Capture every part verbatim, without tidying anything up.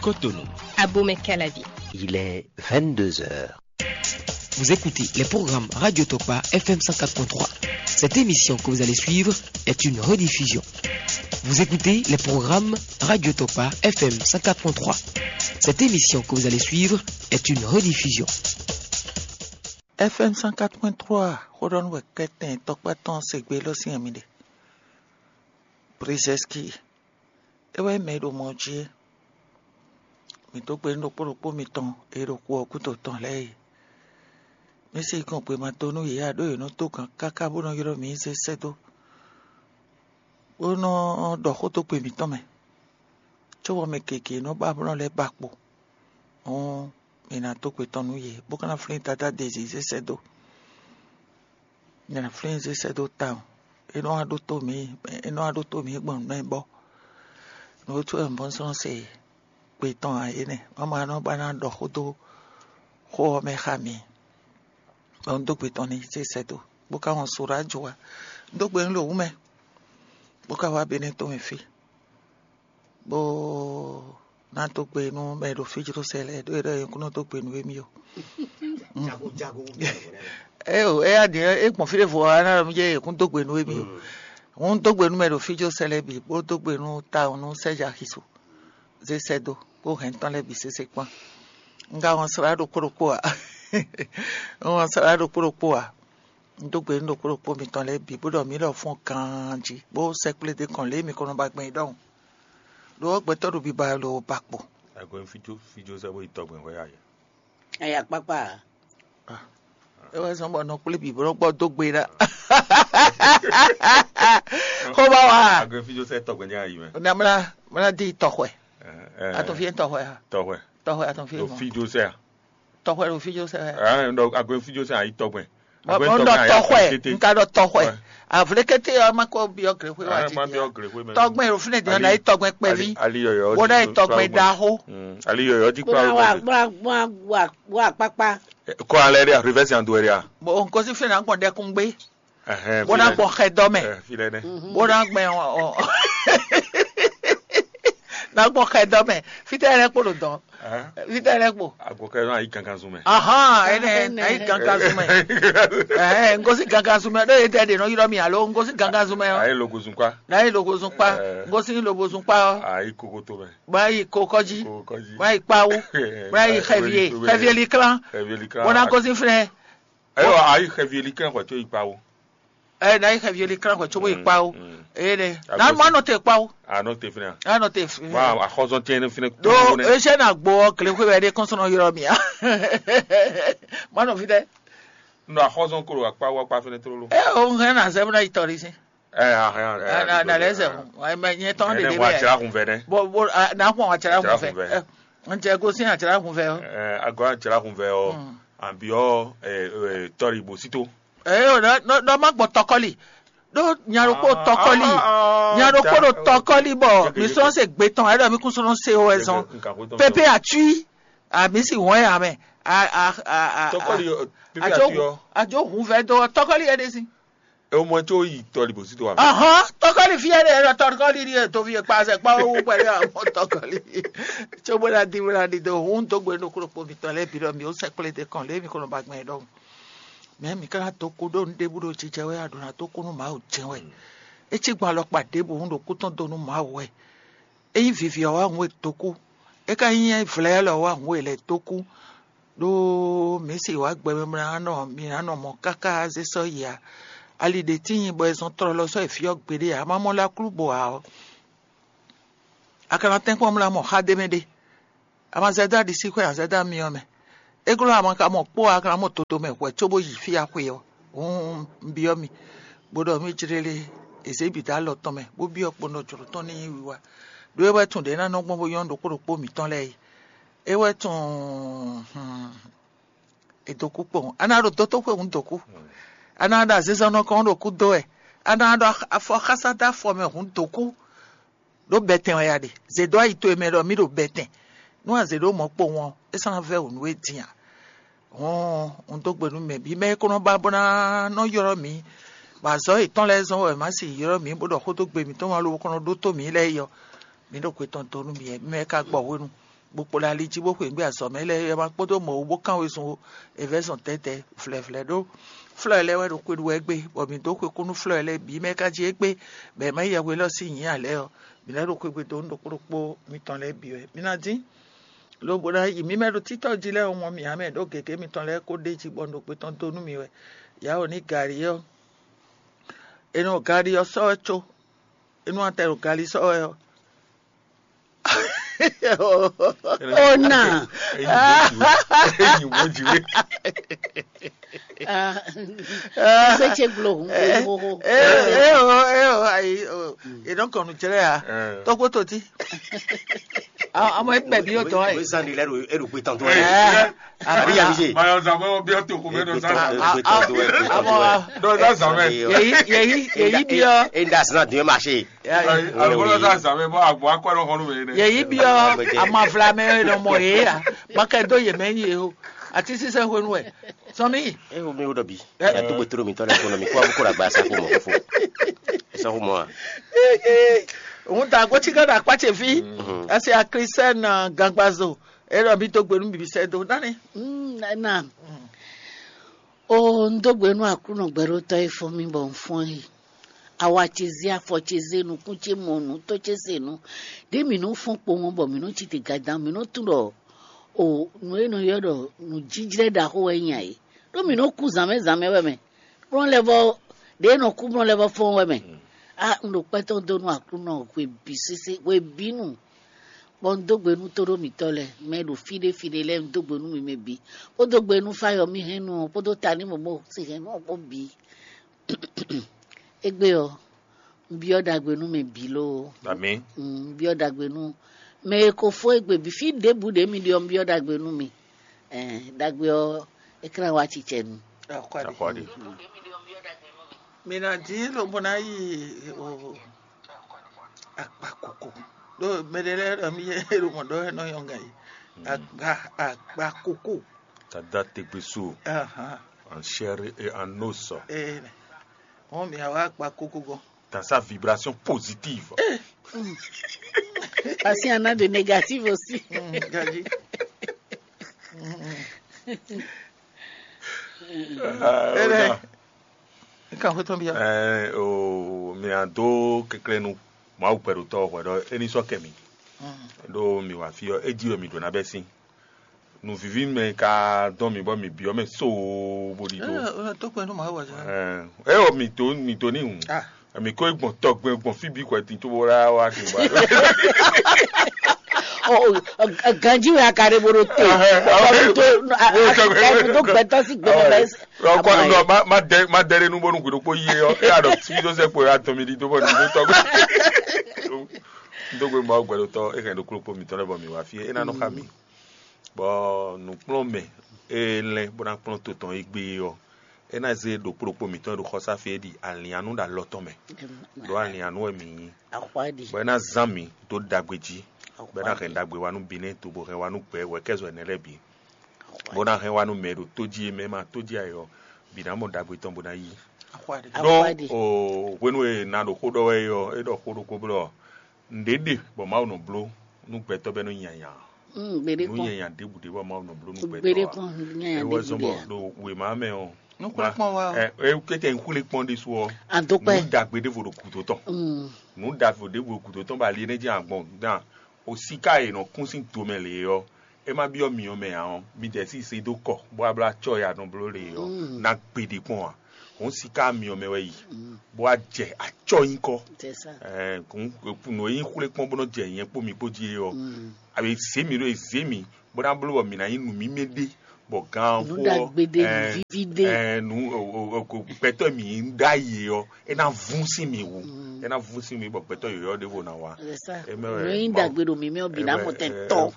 Cotonou. Abomey Calavi. Il est vingt-deux heures. Vous écoutez les programmes Radio Tokpa F M cent quatre point trois. Cette émission que vous allez suivre est une rediffusion. Vous écoutez les programmes Radio Tokpa F M cent quatre point trois. Cette émission que vous allez suivre est une rediffusion. F M cent quatre point trois, xó ɖɔ nú wɛ kɛ́tɛn tɔkpá tɔn se gbe lɔ sín ami ɖe. Brzezinski, é wɛ mɛ e ɖo mɔ jí é. Mǐ dó gbe nú ɖokpó ɖokpó mitɔn e ɖo xu ɔ́ gúdo tɔn lɛ́ɛ é. Mǐ sixú gbɔn gbe ma dó nú yě ǎ, ɖó yě nɔ dó gǎn káká bó nɔ ylɔ́ mǐ zé sɛ́ dó, bó nɔ ɖɔ xó dó gbe mǐtɔn mɛ, cóbɔ mɛ gěgé nɔ ba blɔ́ lɛ́ɛ ba kpo. Hǔn mǐ ná dó gbe tɔn nú yě, bó ka ná flín Dadá Dezí zé sɛ́ dó. Mǐ ná flín zé sɛ́ dó tawun. É nɔ wá ɖótó mǐ, é nɔ wá ɖótó mǐ gbɔn nǔ mɛ bɔ nǔ e tɔ́ wɛ un bɔ́ sɔ́ se gbe tɔn ǎ é nɛ́. Mawu ɔ́ nɔ ba ná ɖɔ xó dó xó ɔ́ mɛ xá mǐ. Bɔ un dó gbe tɔn n'i zé sɛ́ dó, bó ka wɔn so ɖó ajo wá. Un dó gbe nú ɖo wú mɛ, bó ka wá Benɛ́ tɔn mɛ fí, bó ná dó gbe nú mɛ e ɖo fí jló sɛ lɛ́ɛ, ɖó é ɖɔ yě kún nɔ dó gbe nú émí ó. Éyo, é yá din é gbɔn fí ɖěvo ɔ́, é ná ɖɔ mí jɛ yě kún dó gbe nú émí ó. Hǔn dó gbe nú mɛ e ɖo fí jló sɛ lɛ́ɛ bǐ, bó dó gbe nú tawun nú Sɛ́ja Xisu, zé sɛ́ dó, kpó hɛn tɔn lɛ́ɛ bǐ sésé kpán. Un ka wɔn slá ɖokpó ɖokpó ǎ. Un wɔn slá ɖokpó ɖokpó ǎ. Un dó gbe nú ɖokpó ɖokpó mitɔn lɛ́ɛ bǐ, bó ɖɔ mǐ lɔ fɔ́n ganjí, bó sɛkplé ɖé kɔn lě e mi ko nɔ ba gbɛn é ɖɔhun. Ɖó gbɛtɔ́ ɖo biba lo ba kpo. Agbɛ́n fíjó fíjó sɛ́ bó yi tɔgbɛn hwɛ ayɛ. Aya kpákpá. É wɛ zɔn bɔ nɔ kplé bǐ bó nɔ gbɔ dó gbe ɖá. Xó ba wa. Agbɛ́n fíjó sɛ́ tɔgbɛn jẹ́ ayi mɛ. Na mla mla di tɔxwɛ. Atɔn fi tɔxwɛ. Tɔxwɛ. Tɔxwɛ atɔn fi. Lo fíjó sɛ́ a. Tɔxwɛ lo fíjó sɛ́. Agbɛ́n fíjó sɛ́ ayi tɔgbɛn. Bɔn ɖɔ tɔxwɛ, n ka ɖɔ tɔxwɛ. Avlékété ɔ́ ma ko byɔ́ gréxwé wá jí. Tɔgbɛn ɖo fínɛ́ din ɔ́ ná yi tɔgbɛn kpɛví. Wo ná yi tɔgbɛn ɖaxó. Ali yɔyɔ jí kpá. Wa kpákpá. Kɔ alɛ ɖe rivɛsi an do ɛ ɖe a. Bɔn n ko sí fínɛ́ ná gbɔn ɖɛkúngbé. Bó ná gbɔn xɛ dɔ mɛ. Bó ná gbɛn ɔ. Ná gbɔn xɛ dɔ mɛ. Fítɛ́ lɛ́ kpo ɖo dɔn. Fítɛ́ lɛ́ kpo. Agbɔkɛ nɔ ayi gangan zun mɛ. Ahán, ɛnɛ ayi gangan zun mɛ. Ɛɛ, n ko sí gangan zun mɛ. Ɖó yé tɛ ɖe nɔ ylɔ́ mi alo n ko sí gangan zun mɛ ɔ. Ayi logo zun kpa. N'ayi logo zun kpa. N ko sí logo zun kpa ɔ. Ayi kokoto mɛ. Bɔ ayi kokɔji. Kokɔji. Bɔ ayi kpawu. Bɔ ayi xɛvie. Xɛvie liklán. Xɛvie liklán. Bó ná gosín fínɛ́. Ɛyɔ ayi xɛvie liklán xɔ tó yi kpawu. Ɛ na yi xɛvie liklán xɔ tó yi kpawu. Eye nɛ. Na ma nɔ te kpawu. A nɔ te fínɛ́. A nɔ te fínɛ́. Wa axɔzɔn tiɛ ne fínɛ́. Do ese na gbɔ kle xwe wɛ de kɔnsɔn yɔrɔ mi a. Ma nɔ fi dɛ. Nɔ axɔzɔn kolo akpa wa kpa fínɛ́ tlóló. Ɛ o hɛn na zɛ bena yi tɔri si. Ɛ ahɛn. Na na lɛ zɛ hun. Wa mɛ nyɛ tɔn de de bɛ. Wa tsira kun fɛ dɛ. Bo bo na kun wa tsira kun fɛ. N tɛ gosin a tsira kun fɛ o. Ɛ agɔ a tsira kun fɛ o. An bi ɔ tɔri bosito. Ɛ o dɔ ma gbɔ tɔkɔli. Ɖó nya ɖokpó tɔkɔli. Nya ɖokpó ɖo tɔkɔli bɔ mi sɔn se gbe tɔn, ɛɖɔ mi kún sɔn se o ɛzɔn. Pepe atui. A mi si wɔn ya mɛ. Tɔkɔli pepe atui ɔ. Ajo hun vɛ dɔ tɔkɔli yɛ de si. E mɔ tso yi tɔli bosito wa. Ahɔn tɔkɔli fi yɛ de ɛɖɔ tɔkɔli ni to fi kpa sɛ kpa wo pɛlɛ amɔ tɔkɔli. Tso bó na di bó na di do hun dó gbe nukúlò kpo mi tɔ lɛ bi ɖɔ mi ó sɛ kplé de kɔn lé mi kɔnɔ ba gbɛn ɖɔ. Mɛ mǐ ka ná dó kú ɖó nǔɖébú ɖo jijɛ wɛ a ɖǒ ná dó kú nú Mawu jɛ́n wɛ. É cí gbɔn alɔkpa ɖěbǔ hǔn ɖo kú tɔn dó nú Mawu wɛ. É nyí vivi ɔ́ wá hǔn e dó kú. É ka nyí vlɛ̌ lɔ wá hǔn e lɛ̌ dó kú. Ɖó mǐ se wǎ gbɛ mɛ mlá nɔ mǐ ná nɔ mɔ káká zé sɔ́ yi ǎ. Ali ɖě tíin bɔ è zɔn tlɔlɔ sɔ́ yi fí ɔ́ gbeɖé ǎ, má mɔ lá klú bo ǎ ɔ́. A ka ná tɛ́nkpɔ́n mlá mɔ xá ɖé mɛ ɖé. A ma zɛ dó aɖisíxwé ǎ, zɛ dó amyɔ mɛ. É glɔ́ a ma ka mɔ kpó ǎ, a ka ná mɔ toto mɛ hwɛ̌ cóbó yi fí a xwe ɔ́. Hǔn un byɔ́ mi, bó ɖɔ mí jlélé è zě bǐ dó alɔ tɔn mɛ, bó byɔ́ kpo nɔ jlǒ tɔn ní nyí wiwa. Ɖó é wɛ tun ɖě ná nɔ gbɔn bó nyɔ́ ɖokpó ɖokpó mǐtɔn lɛ́ɛ é. É wɛ tun è dǒ kú kpowun. A ná ɖo dótóxwé hǔn dǒ kú. A ná ɖo azinzɔnnɔ kɔn ɖo kú dó wɛ. A ná ɖo afɔxásá dó afɔ mɛ hǔn dǒ kú. Ɖó bɛtɛn wɛ a ɖe. Zě dó ayi towe mɛ ɖɔ mí ɖo bɛtɛn. Nú a zě ɖó mɔ̌ kpowun ɔ́, é sɔ́ ná vɛ́ wǔ nú we din a? Hɔn un dó gbe nú mɛ bǐ mɛ e ko nɔ ba bó ná nɔ ylɔ́ mǐ, bɔ azɔ̌ yětɔn lɛ́ɛ zɔ́n wɛ má sì ylɔ́ mǐ bó ɖɔ xó dó gbe mǐtɔn wá lobo ko nɔ ɖótó mǐ lɛ́ɛ é ɔ́, mǐ ɖo gbe tɔn dó nú mi wɛ, mi mɛ ka gbɔ hwenu. bó kpo ɖo ali jí bó xweyǐgbe azɔ̌ mɛ lɛ́ɛ é ma kpódó mɔ̌ wú bó kán wezun ó. È vɛ́ zɔn tɛ́tɛ́ vlɛ̌vlɛ́ ɖó flɔ́ lɛ́ɛ wɛ ɖo xwe ɖu wɛ gbé, bɔ mǐ dó xwe kú nú flɔ́ lɛ́ɛ bǐ mɛ ka jí égbé, bɔ è ma yí yɛhwe élɔ́ sín nyǐ ǎ lɛ́ɛ ɔ́, mǐ lɛ́ ɖo xwegbe dó nú ɖokpó ɖokpó mitɔn lɛ́ɛ bǐ wɛ. Mǐ ná dín lobo ná yi mǐ mɛ ɖo títɔ́ jí lɛ́ɛ ɔ́, mɔ mǐ ǎ mɛ ɖó gěgé mitɔn lɛ́ɛ kó ɖ'é jí bɔ un ɖo gbetɔ́ dó nú mi wɛ. Yǎwo ní gǎrí ɔ́, è nɔ gǎrí ɔ́ sɔ́ wɛ có, è nɔ atɛ ɖo gǎrí sɔ́ wɛ ɔ́. Ona. Eyin bó jǐ wé. Sese glo hun hoho. Eo eo ayi, è nɔ kɔn nǔ jlɛ́ a tɔ́gbó totí. Ọmọ ẹgbẹ́ bí yóò tọ́ ẹ̀. Zan ni lɛ do eɖo gbe tɔn to Ɛ, Abi ya mi se. Mayɔ zan bɔ biɔ to ko bɛ dɔ sa zan. Gbe tɔn to ɛ. Àmọ́ Dɔ sa zan mɛ. Yèyí yèyí yèyí biɔ Enda sinna dun ma se. Alukolo sa zan mɛ bɔ agbɔ akɔ ɛrɔ xɔnu mɛ ne. Yèyí biɔ amavlamɛ nɔ mɔ yě ya makɛ dó yě mɛ nyi yě o. Àti sísɛ hwenu ɛ sɔmi. E wo mi wo dɔ bi. Ya to gbe toro mi tɔ lɛ ko nɔ mi ko abu ko la gba sa ko mɔ ko fo. Sa ko mɔ a. Òun ta agbótsígá ɖo akpá ce fí. Ɛsɛ akrisɛn gangbazo. Eye ɖɔ mi dó gbe nú mi sɛ dó nani. Na o n dó gbe nú Aklúnɔ gbɛɖótɔ́ e fɔ́n mì bɔ un fɔ́n e. Awa ce zé, afɔ ce zé, nukún ce mɔ nǔ, tó ce se nǔ. Ɖě mǐ nɔ́ fɔ́n kpowun bɔ mǐ nɔ́ ci te gadan, mǐ nɔ́ tunwun ɖɔ o nǔ e nɔ ylɔ́ ɖɔ nǔjíjlɛ́ ɖaxó wɛ nyí ǎ é. Ɖó mǐ nɔ́ kú zǎnmɛ zǎnmɛ wɛ mɛ. Kplɔ́n lɛ́ vɔ ɖě e nɔ kú kplɔ́n lɛ́ vɔ fɔ́n wɛ mɛ. A un ɖo kpɛ́ tɔn dó nú Aklúnɔ hwe bǐ sésé hwe bǐ nu. Bɔ un dó gbe nú tóɖó mǐtɔn lɛ́ɛ, mɛ e ɖo fí ɖé fí ɖé lɛ́ɛ un dó gbe nú mi mɛ bǐ, bó dó gbe nú Fáyɔmí hɛn nu ɔ́ kpódó Tanímɔ̌mɔ́ sin hɛn nu ɔ́ kpó bǐ. Égbé ɔ́, un byɔ́ ɖagbe nú mɛ bǐ loo. Ami. Un byɔ́ ɖagbe nú mɛ e ko fó égbé bǐ, fí ɖěbǔ ɖě mi ɖe ɔ́, un byɔ́ ɖagbe nú mi. Ɛɛ, ɖagbe ɔ́, é ká ná wá cicɛ nu. Akɔɖi. Mi ná dín lobo ná yi o akpa koko. Ɖó mɛɖé lɛ́ɛ ɖɔ mì yɛ ɖo mɔ ɖɔ ɛ nɔ yɔn gǎn yi. Akpa akpa koko. Tada tegbeso Ahan. en chair et en os. Ee, wọn mi awa akpa koko gɔn. Dans sa vibration positive. Parce qu'il y en a de négatifs aussi. Mm, Gaji. Ah, Ele. Oda. Nkan ko tɔn bia. Eh, o mi a do keklenu. Mawu pɛɖo tɔ hwɛ ɖɔ eni sɔ kɛ mi. Ɖo mi wa fi ɔ, edi wɛ mi ɖo na bɛ sin. Nǔvíví mɛ ka dɔn mi bɔ mi biɔ mɛ soo bó ɖi do. Tó pẹ́ ní màá wà jẹ́. Eh, eh, o mi to mi to ní hùn. Ah. Mi ko gbɔn tɔgbɛ gbɔn fi bi kɔ ti tó bó la wa ti ba. Ganji wɛ akare bolo te. Ɛbu tó gbɛtɔ si gbɛtɔ bɛ. Ọkọ nínú ma ma dẹ ma dẹ nínú bónú gbèdó kó yé ọ ẹ àdọ tí tó sẹ pé a tán mi di tó bọ ní tó tọgbẹ. Tó gbé ma gbẹdọ tọ ẹ kàn ní kúrò pé mi tọ́ lẹ́bọ̀ mi wá fi ẹ náà nọ xa mi. Bɔ nǔkplɔ́nmɛ e lɛ́n bó ná kplɔ́n to tɔn e gbé ɔ́, é ná zé ɖokpó ɖokpó mǐtɔn e ɖo xɔsáfí é ɖi alǐnnyánú ɖo alɔ tɔn mɛ. Ɖó alǐnnyánú wɛ mǐ nyí. Bɔ é ná zán mǐ dó ɖagbe jí, bɔ é ná hɛn ɖagbe wá nú Binɛ́ɛ to bó hɛn wá nú gbɛ wɛ̌kɛ́zɔ́ ɛnɛ lɛ́ɛ bǐ, bó ná hɛn wá nú mɛ e ɖo tó jí e mɛ e ma tó jí ǎ é ɔ́, bǐ ná mɔ ɖagbe tɔn bó ná yí. Ɖó o hwenu e na ɖo xó ɖɔ wɛ é ɔ́, é ɖɔ xó ɖokpó blɔ nǔɖé ɖe bɔ Mawu nɔ bló nú gbɛtɔ́ bɛ́ nɔ nyanya. Nǔ nyanya ɖěbǔ ɖé bɔ Mawu nɔ bló nú gbɛtɔ́ ǎ. É wɛ zɔ́n bɔ ɖo wěma mɛ ɔ́, Nukplɔ́nkplɔ́n wa ɔ. ɛ é kɛ́tɛ nkúlé kpɔ́n ɖésú ɔ́, Adókpɛ́. Nǔ ɖagbe ɖěvo ɖo gǔdo tɔn. Nǔ ɖagbe ɖěvo ɖo gǔdo tɔn bɔ ali énɛ́ jẹ́ agbɔn gán. O siká e nɔ kún sín do mɛ lě ɔ́, é má byɔ́ myɔ mɛ ǎ ɔ́, midɛɛ sí se dó kɔ bó wá bló acɔ́ e a nɔ bló lě ɔ́ ná gbe ɖě kpɔ́n ǎ. Hǔn siká myɔ mɛ wɛ yi, bó wá jɛ acɔ́ nyíkɔ. C'est ça. Ɛɛ, hǔn nǔ e nyí xwlé kpɔ́n bó nɔ jɛ nyɛ kpó mi kpó jí é ɔ́, a bɛ zě mǐ ɖó e zě mǐ bó ná bló bɔ mǐ ná nyí nǔ mímɛ́ ɖé, bɔ gan Nǔ ɖagbe ɖé, nǔ viví ɖé. Ɛɛ, nǔ o- o- o- gbɛtɔ́ mǐ ɖó ayé ɔ́, é ná vún sín mǐ wú, é ná vún sín mǐ bɔ gbɛtɔ́ yɔ̌yɔ́ ɖěvo ná wá. C'est ça. Eme wɛ Nú yín Mawu- dagbe ɖo mǐmí ɔ́ bǐ ná mɔ tɛn tɔ.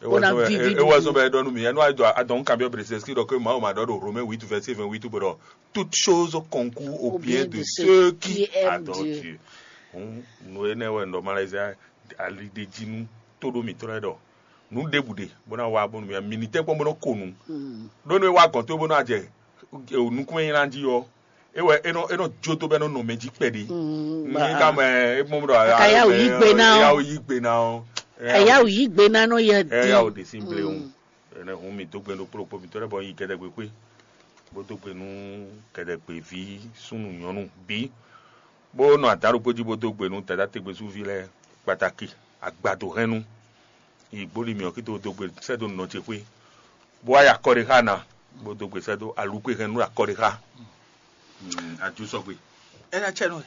Ó ná vivi ewɔ sɔ bɛ ɖɔ nu mi ɛnu adɔ adɔn kan bi ɔbɛrɛ sɛ ski dɔ ke Mawu ma ɖɔ ɖo Romain huit verset vingt-huit bɛ ɖɔ toute chose concourt au bien de ceux qui adorent Dieu. Hum, nu enɛ wɛ ndɔ Malaysia ali de ji nu to ɖo mi trɔ ɖɔ nu ɖebu ɖe bó ná wá bónú mi mi ni tɛ kpɔn bó ná ko nu ɖó nu wa gɔn tó bó ná jɛ nukun yẹn ná jí ɔ ewɛ enɔ enɔ jó tó bɛ nɔ nɔ mɛ jí kpɛɖe ní ká mɛ é mɔ ɖɔ Aka yá wò yí gbe ná ɔ. Yá wò yí gbe ná ɔ. Ayáwǔ yí gbe ná nɔ yɛ Ɛ ya o din. ɖe sín bléwu. Ɛnɛ hun mi dó gbe ɖo kplɔ́ kpó mitɔ́ lɛ́ɛ bɔ yi kɛdɛgbe kpé. Bó dó gbe nú kɛdɛgbe ví súnnu nyɔ̌nu bí. Bó nɔ adǎn ɖokpó jí bó dó gbe nú dada tegbesuví lɛ́ɛ kpatakí agbado hɛnnu. Yi gbóli mǐ ɔ́ kí tó dó gbe sɛ́ dó nɔ ce xwé. Bó wá ya kɔ ɖé xá ná. Bó dó gbe sɛ́ dó alukwe hɛnnu akɔ ɖé xá. Adú sɔgbe. Ena cɛ nɔ.